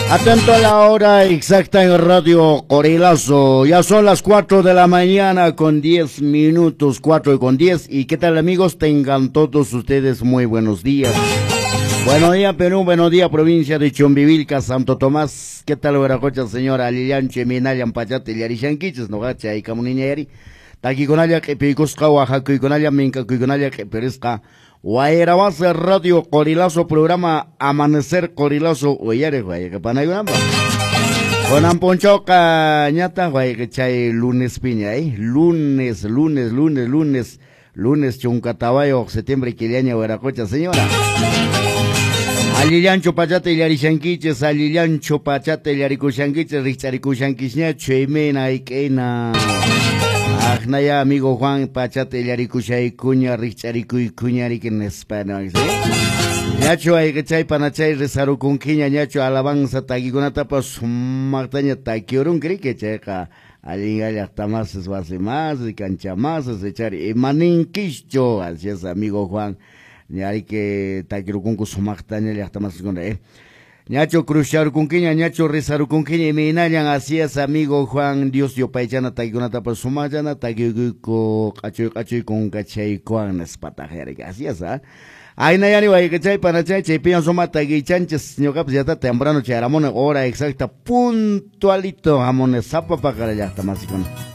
Atento a la hora exacta en Radio Corilazo. Ya son las 4 de la mañana con 10 minutos, 4:10. ¿Y qué tal, amigos? Tengan todos ustedes muy buenos días. Buenos días, Perú. Buenos días, provincia de Chumbivilca, Santo Tomás. ¿Qué tal, Hueracocha, señora? Alillanche, Minayan, Pachate, Yarishanquiches, Nogacha, y Camuniñeri. Taquiconalla, Q'ipiykusqa, Oaxacuykunalla, Minkakuykunalla, Q'ipirisqa. Wayrawasa Radio Corilazo, programa Amanecer Corilazo, uyariq wayqi Kunan p'unchawqa ñataq wayqi chay lunes piña, eh? Lunes, lunes, lunes, lunes, lunes 14 septiembre killaña, wiraqucha señora. Allillanchu pachata illarishankichis, allillanchu pachata illarikushankichis, rikch'arikushankisñachu, imayna hayk'ayna. Aqnaya, amigo Juan, pachata illarikushaykuña, rikch'arikuykuña riki nispa, ¿no? Ñachu wayqichay panachay rizarukunkiña, ñachu alabanza takikunatapas sumaqtaña takiurunki riki, chayqa allin llaqtamasis, wasimasis, kanchamasis, ichari imaninkichu, así es, amigo Juan, ñariki takirukunku sumaqtaña llaqtamasiskuna, eh. Ñachu cruzcharukunkiña, ñachu rizarukunkiña, imaynallan, así es, amigo Juan, Dios yupaychana takikunatapas sumaqllana takiyuyku q'achuy q'achuy kunkachaykuwan nispataq yariki, así es, ah. Aynayani wayqichay panachay chaypiña suma takiychanchis, ñuqapas yata temprano chayramuni, hora exacta puntualito hamuni sapa paqara llaqtamasikuna.